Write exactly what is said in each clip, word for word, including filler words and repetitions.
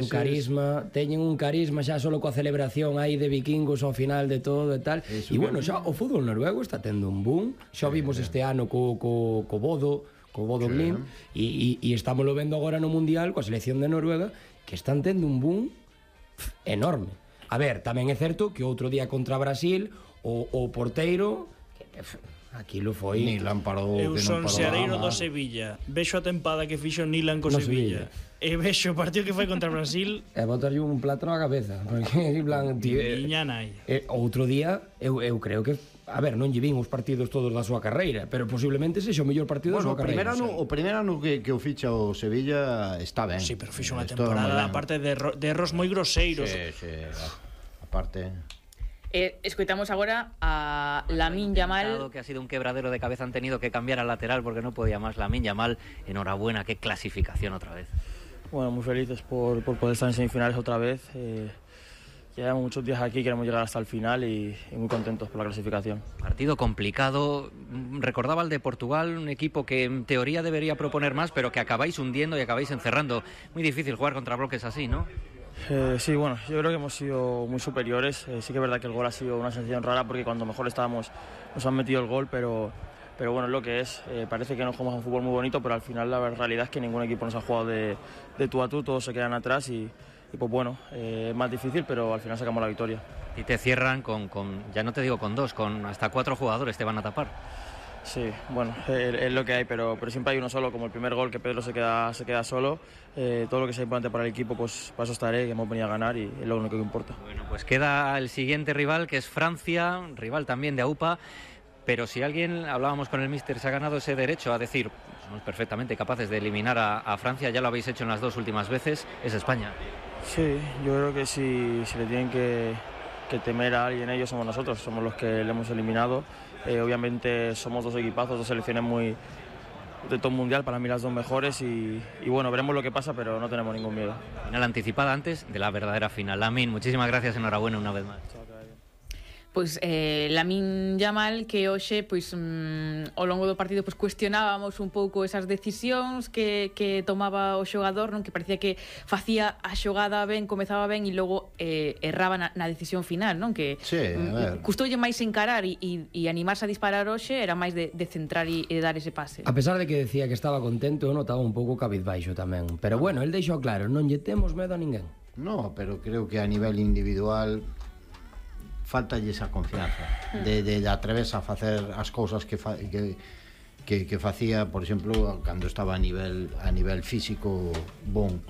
un carisma, teñen un carisma xa solo coa celebración aí de vikingos ao final de todo e tal. E bueno, xa o fútbol noruego está tendo un boom. Xa vimos este ano co, co, co Bodo, co Bodo Glimt, e, e, e estamos lo vendo agora no Mundial coa selección de Noruega, que están tendo un boom enorme. A ver, tamén é certo que outro día contra Brasil o, o porteiro aquilo foi Nilan parou. Eu son seareiro do Sevilla, vexo a tempada que fixo Nilan co Sevilla e vexo o partido que foi contra Brasil e botarlle un plato na cabeza porque en plan, tío, Miña nai. E, outro día eu, eu creo que a ver, non lle vin os partidos todos da súa carreira, pero posiblemente sexa o mellor partido bueno, da súa carreira. Ano, o primeiro ano que, que o ficha o Sevilla está ben. Sí, pero fixo unha temporada aparte de, erro, de erros moi groseiros. Sí, sí, aparte. Eh, escoitamos agora a Lamine Yamal, que ha sido un quebradero de cabeza, han tenido que cambiar al lateral porque no podía más. Lamine Yamal, enhorabuena, qué clasificación otra vez. Bueno, muy felices por, por poder estar en semifinales otra vez. Eh, llevamos muchos días aquí, queremos llegar hasta el final y, y muy contentos por la clasificación. Partido complicado. Recordaba el de Portugal, un equipo que en teoría debería proponer más, pero que acabáis hundiendo y acabáis encerrando. Muy difícil jugar contra bloques así, ¿no? Eh, sí, bueno, yo creo que hemos sido muy superiores. Eh, sí que es verdad que el gol ha sido una sensación rara porque cuando mejor estábamos nos han metido el gol, pero... Pero bueno, es lo que es. Eh, parece que nos jugamos un fútbol muy bonito, pero al final la realidad es que ningún equipo nos ha jugado de, de tú a tú, todos se quedan atrás y, y pues bueno, eh, es más difícil, pero al final sacamos la victoria. Y te cierran con, con, ya no te digo con dos, con hasta cuatro jugadores te van a tapar. Sí, bueno, es, es lo que hay, pero, pero siempre hay uno solo, como el primer gol que Pedro se queda, se queda solo. Eh, todo lo que sea importante para el equipo, pues para eso estaré, que hemos venido a ganar y es lo único que importa. Bueno, pues queda el siguiente rival, que es Francia, rival también de AUPA. Pero si alguien, hablábamos con el míster, se ha ganado ese derecho a decir, somos perfectamente capaces de eliminar a, a Francia, ya lo habéis hecho en las dos últimas veces, es España. Sí, yo creo que si, si le tienen que, que temer a alguien, ellos somos nosotros, somos los que le hemos eliminado. Eh, obviamente somos dos equipazos, dos selecciones muy de top mundial, para mí las dos mejores y, y bueno, veremos lo que pasa, pero no tenemos ningún miedo. Final anticipada antes de la verdadera final. Lamine, muchísimas gracias, enhorabuena una vez más. Pois eh, Lamine Yamal, que hoxe pois mm, ao longo do partido pois cuestionábamos un pouco esas decisións que, que tomaba o xogador, non, que parecía que facía a xogada ben, comezaba ben e logo eh, erraba na, na decisión final, non, que sí, mm, custoulle máis encarar e, e, e animarse a disparar hoxe, era máis de, de centrar e, e dar ese pase. A pesar de que decía que estaba contento, eu notaba un pouco cabizbaixo tamén, pero bueno, el deixou claro, non lle temos medo a ninguén. No, pero creo que a nivel individual faltalle esa confianza de, de, de atreverse a facer as cousas que, fa, que, que, que facía, por exemplo, cando estaba a nivel a nivel físico bon.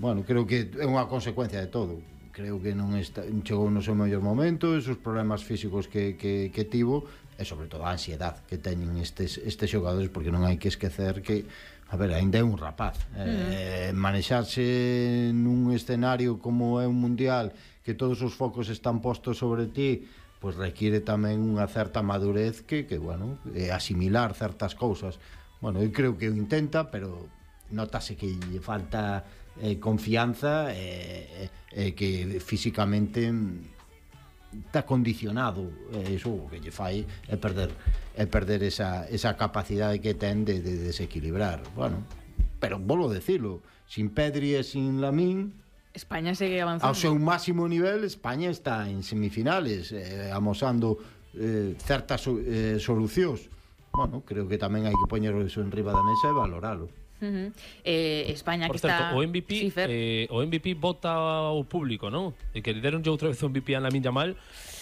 Bueno, creo que é unha consecuencia de todo. Creo que non está, chegou no seu mellor momento, esos problemas físicos que, que, que tivo e sobre todo a ansiedade que teñen estes, estes xogadores, porque non hai que esquecer que, a ver, ainda é un rapaz. Eh, manexarse nun escenario como é un mundial, que todos os focos están postos sobre ti, pois requiere tamén unha certa madurez que, que bueno, eh, asimilar certas cousas. Bueno, eu creo que o intenta, pero notase que lle falta eh, confianza e eh, eh, que físicamente está condicionado, eh, iso que lle fai é perder é perder esa, esa capacidade que ten de, de desequilibrar. Bueno, pero volvo a decirlo, sin Pedri e sin Lamine, España segue avanzando. Ao seu máximo nivel, España está en semifinales, eh, amosando eh, certas eh, solucións. Bueno, creo que tamén hai que poñer eso en riba da mesa e valoralo. Uh-huh. eh, España Por que certo, está... o M V P, sí, eh, o M V P vota ao público, non? E que deronlle outra vez o M V P a Lamine Yamal.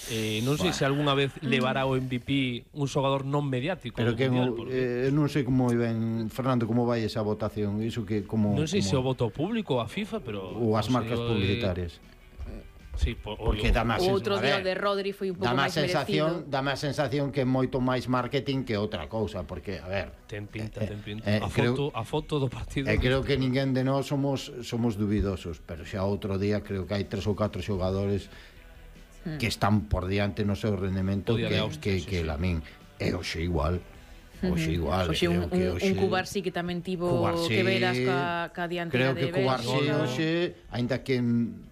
Eh, non sei bueno. se algunha vez levará o M V P un xogador non mediático. Pero que mundial, no, porque... eh, non sei como ben, Fernando, como vai esa votación, iso que como non sei como... se o voto público a FIFA, pero ou as marcas publicitarias. Sí, por, porque dá máis o outro día o de Rodri foi un pouco máis sensación, merecido. Dá máis sensación que é moito máis marketing que outra cousa, porque, a ver, ten pinta, eh, ten pinta. Eh, a creo, foto, a foto do partido. E eh, creo que ninguén de nós somos somos dubidosos, pero xa outro día creo que hai tres ou catro xogadores hmm. que están por diante no seu rendemento que Austria, que sí, que sí. Lamine. E hoxe igual. Hoxe igual, Oxe, creo un, que un, hoxe un Cubarsí que tamén tivo Cubarsí, que veras ca, ca dianteira de Bélgica. Creo que Cubarsí hoxe, aínda que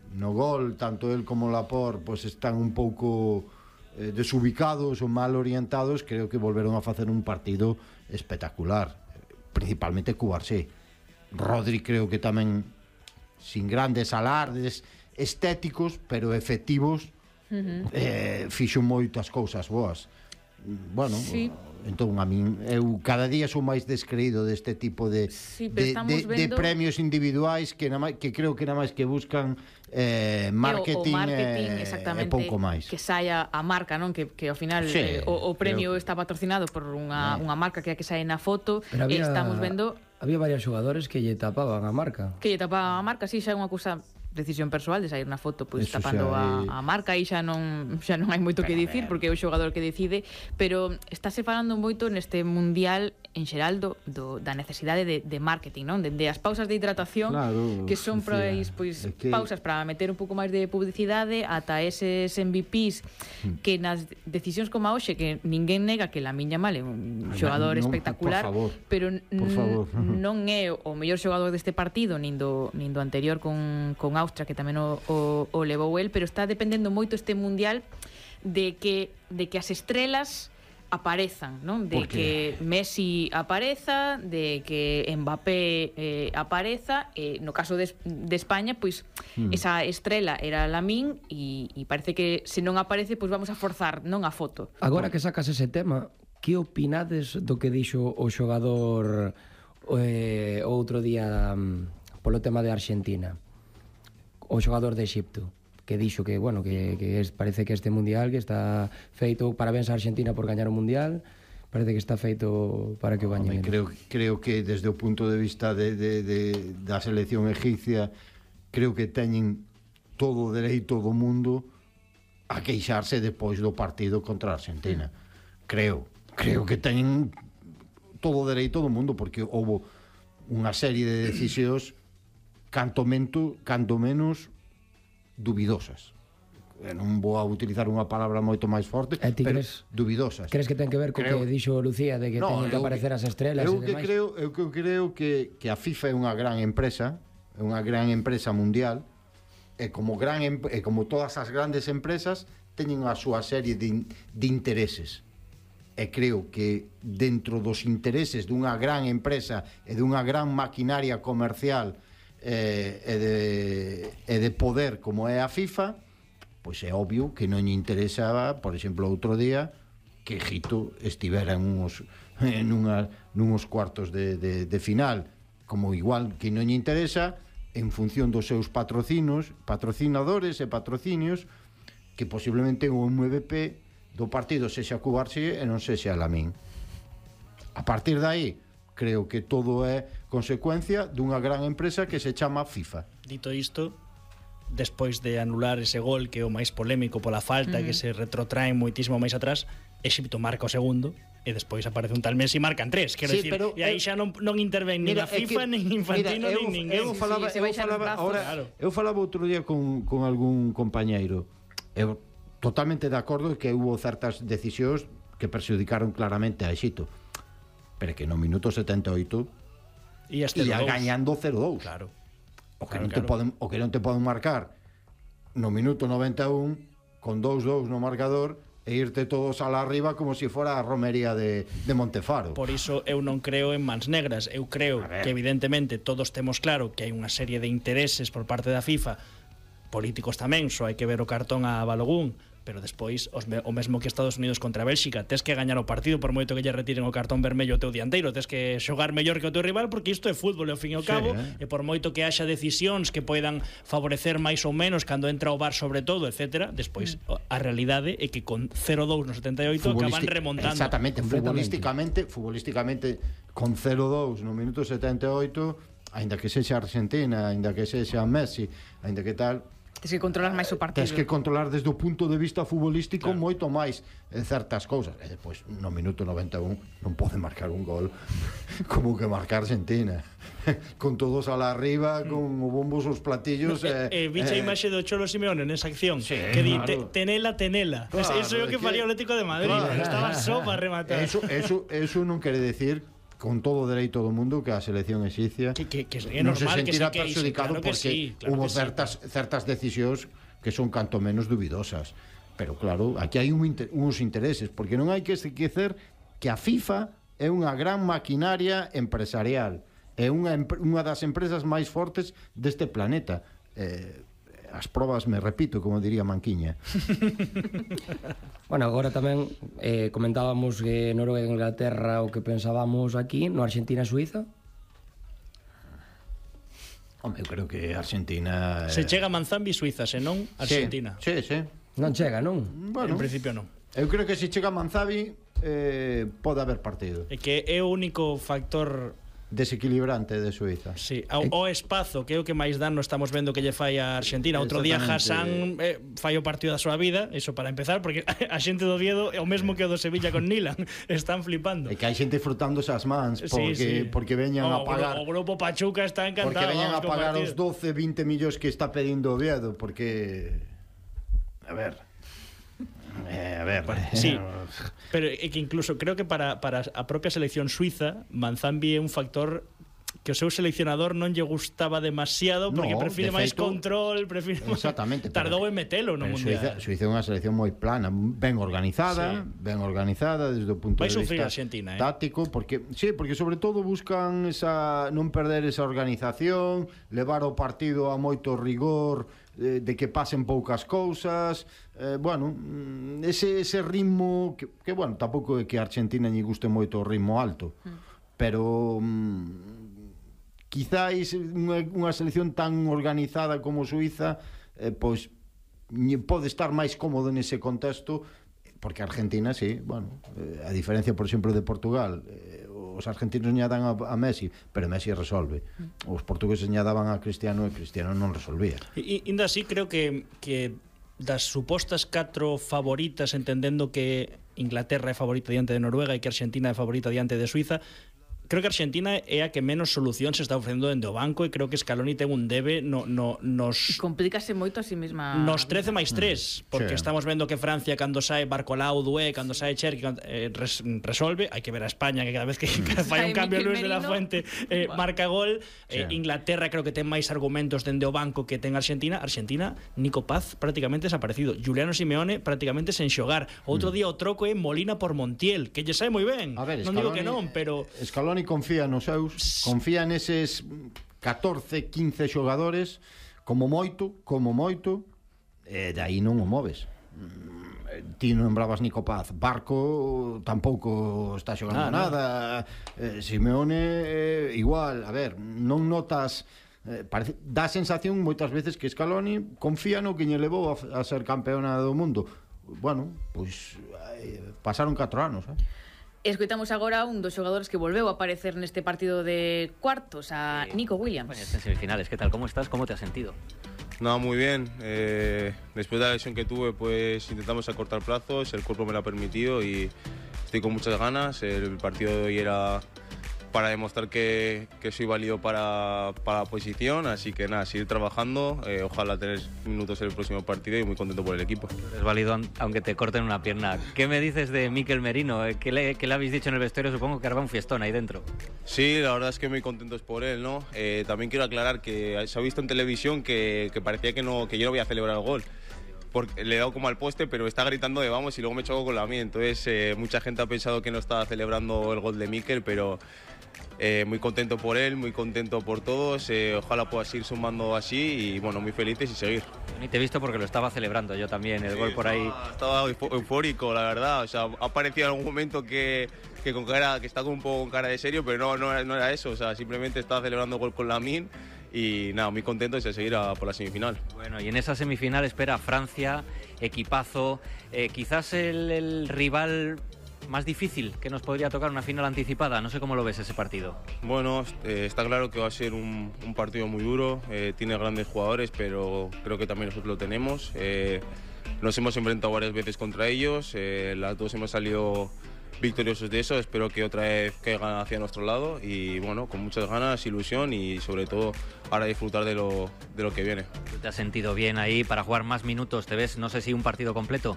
no gol, tanto el como Laporte pois pues, están un pouco eh, desubicados ou mal orientados, creo que volveron a facer un partido espectacular, principalmente Cubarsí. Rodri creo que tamén sin grandes alardes estéticos, pero efectivos, uh-huh. eh, fixo moitas cousas boas. Bueno, sí. Entón a min eu cada día sou máis descreído deste tipo de sí, de, de, vendo... de premios individuais que na, que creo que nada máis que buscan eh, marketing, o, o marketing e, exactamente, e pouco máis. Que saia a marca, non? Que, que ao final sí, eh, o, o premio creo... está patrocinado por unha, eh. unha marca que é a que sae na foto. Había, e estamos vendo había varios xogadores que lle tapaban a marca. Que lle tapaban a marca, si, sí, xa é unha cousa decisión persoal de sair na foto pois Eso tapando xa, a, a marca e xa non xa non hai moito que dicir porque é o xogador que decide, pero estáse falando moito neste mundial en xeral do, do, da necesidade de, de marketing, non? De, de as pausas de hidratación, claro, que son pois, pois que... pausas para meter un pouco máis de publicidade, ata eses M V Ps que nas decisións como a hoxe, que ninguén nega que Lamine Yamal é un xogador non, espectacular, por favor, pero por favor. non é o mellor xogador deste partido nin do, nin do anterior con, con Austria, que tamén o, o, o levou el, pero está dependendo moito este mundial de que, de que as estrelas aparezan, non? De que Messi apareza, de que Mbappé eh, apareza, e eh, no caso de, de España, pois mm. esa estrela era Lamine e, e parece que se non aparece, pois vamos a forzar, non a foto. Agora que sacas ese tema, que opinades do que dixo o xogador eh, outro día um, polo tema de Argentina? O xogador de Exipto, que dixo que, bueno, que, que es, parece que este mundial que está feito, parabéns a Argentina por gañar o mundial, parece que está feito para que o gañen. Creo, creo que desde o punto de vista de, de, de, da selección egipcia, creo que teñen todo o dereito do mundo a queixarse depois do partido contra a Argentina. Creo, creo que teñen todo o dereito do mundo, porque houve unha serie de decisións canto, mento, canto menos duvidosas. Non vou a utilizar unha palabra moito máis forte, pero crees, duvidosas. Crees que ten que ver co creo, que dixo Lucía de que no, teñen que aparecer as estrelas eu e que demais? Creo, eu que creo que, que a FIFA é unha gran empresa, é unha gran empresa mundial, e como, gran, e como todas as grandes empresas teñen a súa serie de, de intereses. E creo que dentro dos intereses dunha gran empresa e dunha gran maquinaria comercial eh, e, de, e de poder como é a FIFA, pois é obvio que non lle interesaba, por exemplo, outro día que Egipto estivera en uns, en unha, nunhos cuartos de, de, de final, como igual que non lle interesa en función dos seus patrocinos, patrocinadores e patrocinios, que posiblemente o M V P do partido sexa Cubarsí e non sexa Lamine. A partir de aí, creo que todo é consecuencia dunha gran empresa que se chama FIFA. Dito isto, despois de anular ese gol que é o máis polémico pola falta, uh-huh. que se retrotrae moitísimo máis atrás, Exipto marca o segundo e despois aparece un tal Messi e marcan tres, quero sí, dicir, pero, e aí xa non, non interven nin a FIFA, nin Infantino, mira, eu, nin ninguén. Eu falaba, sí, eu falaba, ahora, claro. eu falaba outro día con, con algún compañeiro, eu totalmente de acordo que hubo certas decisións que perxudicaron claramente a Exipto, pero que no minuto setenta e oito ia gañando cero dous. Claro. O que, claro, non te claro. poden, o que non te poden marcar no minuto noventa e un con dous dous no marcador e irte todos a la arriba como se si fora a romería de, de Montefaro. Por iso eu non creo en mans negras. Eu creo que evidentemente todos temos claro que hai unha serie de intereses por parte da FIFA, políticos tamén, só hai que ver o cartón a Balogun, pero despois os me, o mesmo que Estados Unidos contra Bélxica, tes que gañar o partido por moito que lle retiren o cartón vermello ao teu dianteiro, tes que xogar mellor que o teu rival, porque isto é fútbol e ao fin e ao cabo, sí, eh? E por moito que haxa decisións que poidan favorecer máis ou menos cando entra o V A R sobre todo, etcétera, despois mm. a realidade é que con cero dous no setenta e oito acaban remontando. Exactamente, futbolísticamente, futbolísticamente con cero dous no minuto setenta e oito, aínda que sexa Argentina, aínda que sexa Messi, aínda que tal, Tens que controlar máis o partido. Tens que controlar desde o punto de vista futbolístico, claro, moito máis en certas cousas. E depois, no minuto noventa e un, non pode marcar un gol como que marcar Argentina. Con todos a la arriba, con o bombos os platillos. No, eh, eh, Vicha eh, imaxe do Cholo Simeone nesa acción, sí, que di, claro, tenela, tenela. Claro, eso é o que, que faría o Atlético de Madrid. Claro, estaba só para rematar. Eso, eso, eso non quere decir con todo o dereito do mundo que a selección exipcia que, que, que é non normal se sentirá que se perxudicado claro porque sí, claro hubo sí. certas, certas decisións que son canto menos duvidosas, pero claro, aquí hai un inter, uns intereses, porque non hai que esquecer que a FIFA é unha gran maquinaria empresarial é unha, unha das empresas máis fortes deste planeta. Eh, as probas, me repito, como diría Manquiña. Bueno, agora tamén eh, comentábamos que Noruega e Inglaterra o que pensábamos aquí, no Argentina e Suiza. Home, eu creo que Argentina... Eh... Se chega a Manzambi, Suiza, senón Argentina. Sí, sí, sí. Non chega, non? En Bueno, principio non. Eu creo que se chega a Manzambi eh, pode haber partido. É que é o único factor desequilibrante de Suiza. Sí, o, o espazo, que é o que máis dano estamos vendo que lle fai a Argentina. Outro día Hassan eh, fai o partido da súa vida, iso para empezar, porque a xente do Oviedo é o mesmo que o do Sevilla con Nilan, están flipando. E que hai xente frutándose as mans porque, sí, sí. porque veñan o, a pagar o grupo Pachuca está encantado. Porque veñan a pagar os doce, vinte millóns que está pedindo Oviedo, porque a ver Eh, a ver, sí, pero é que incluso creo que para, para a propia selección suiza Manzambi é un factor que o seu seleccionador non lle gustaba demasiado porque no, prefire de máis feito, control, prefire exactamente, tardou en metelo no mundial. Suiza, Suiza é unha selección moi plana, ben organizada, sí. ben organizada desde o punto Vai de vista Argentina, eh? táctico, porque sí, porque sobre todo buscan esa non perder esa organización, levar o partido a moito rigor, eh, de que pasen poucas cousas, eh, bueno, ese ese ritmo que, que bueno, tampouco é que a Argentina lle guste moito o ritmo alto, mm. pero mm, quizáis unha, unha selección tan organizada como Suiza eh, pois pode estar máis cómodo nese contexto, porque Argentina, sí, bueno, eh, a diferencia, por exemplo, de Portugal, eh, os argentinos lle dan a, a Messi, pero Messi resolve. Os portugueses lle daban a Cristiano e Cristiano non resolvía. E ainda así creo que que das supostas catro favoritas, entendendo que Inglaterra é favorita diante de Noruega e que Argentina é favorita diante de Suiza, creo que Argentina é a que menos solución se está ofrecendo dende o banco e creo que Scaloni ten un debe no, no, nos... E complícase moito a si mesma... Nos trece máis tres, porque sí. estamos vendo que Francia, cando sae Barcolau, Dué, cando sae Cherki, eh, res, resolve. Hai que ver a España, que cada vez que fai un cambio Luis de la Fuente eh, marca gol. Eh, sí. Inglaterra creo que ten máis argumentos dende o banco que ten Argentina. Argentina, Nico Paz prácticamente desaparecido. Juliano Simeone prácticamente sen xogar. Outro mm. día o troco é Molina por Montiel, que lle sae moi ben. A ver, non Scaloni, digo que non, pero... Scaloni confía nos seus, confía neses catorce, quince xogadores como moito, como moito, e de aí non o moves. Ti non lembrabas Nico Paz, Barco tampouco está xogando ah, nada, no. eh, Simeone eh, igual, a ver, non notas eh, parece, dá a sensación moitas veces que Scaloni confía no que lle levou a, a ser campeona do mundo. Bueno, pois eh, pasaron catro anos, eh? Escoitamos agora un dos xogadores que volveu a aparecer neste partido de cuartos, a sí. Nico Williams. Bueno, en semifinales, ¿qué tal? ¿Cómo estás? ¿Cómo te has sentido? No, muy bien. Eh, después de la lesión que tuve, pues intentamos acortar plazos, el cuerpo me lo ha permitido y estoy con muchas ganas. El partido de hoy era para demostrar que, que soy válido para, para la posición, así que nada, seguir trabajando, eh, ojalá tener minutos en el próximo partido y muy contento por el equipo. Es válido aunque te corten una pierna. ¿Qué me dices de Mikel Merino? ¿Qué le, qué le habéis dicho en el vestuario? Supongo que hará un fiestón ahí dentro. Sí, la verdad es que muy contentos por él, ¿no? Eh, también quiero aclarar que se ha visto en televisión que, que parecía que, no, que yo no voy a celebrar el gol. Porque le he dado como al poste, pero está gritando de vamos y luego me choco con la mía. Entonces eh, mucha gente ha pensado que no estaba celebrando el gol de Mikel, pero... Eh, muy contento por él, muy contento por todos, eh, ojalá pueda seguir sumando así y bueno, muy felices y seguir. Ni te he visto porque lo estaba celebrando yo también, el sí, gol por ahí. Estaba, estaba eufórico, la verdad, o sea, ha parecido en algún momento que, que, con cara, que está con un poco con cara de serio, pero no, no, no era eso, o sea, simplemente estaba celebrando el gol con Lamine y nada, muy contento de seguir a por la semifinal. Bueno, y en esa semifinal espera Francia, equipazo, eh, quizás el, el rival... más difícil que nos podría tocar, una final anticipada. No sé cómo lo ves ese partido. Bueno, eh, está claro que va a ser un, un partido muy duro, eh, tiene grandes jugadores, pero creo que también nosotros lo tenemos. Eh, nos hemos enfrentado varias veces contra ellos, eh, las dos hemos salido victoriosos de eso, espero que otra vez caigan hacia nuestro lado y bueno, con muchas ganas, ilusión y sobre todo ahora disfrutar de lo, de lo que viene. ¿Te has sentido bien ahí para jugar más minutos? ¿Te ves, no sé si un partido completo?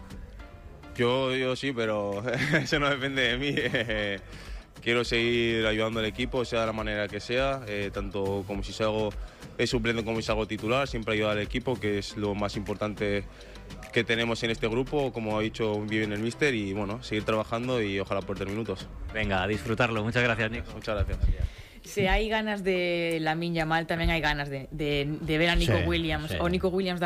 Yo, yo sí, pero eso no depende de mí. Quiero seguir ayudando al equipo, sea de la manera que sea, eh, tanto como si salgo de suplente como si salgo titular, siempre ayudar al equipo, que es lo más importante que tenemos en este grupo, como ha dicho bien el míster, y bueno, seguir trabajando y ojalá por tener minutos. Venga, a disfrutarlo. Muchas gracias, Nico. Muchas gracias. se hai ganas de Lamine Yamal, tamén hai ganas de, de, de ver a Nico Sí, Williams. sí. O Nico Williams da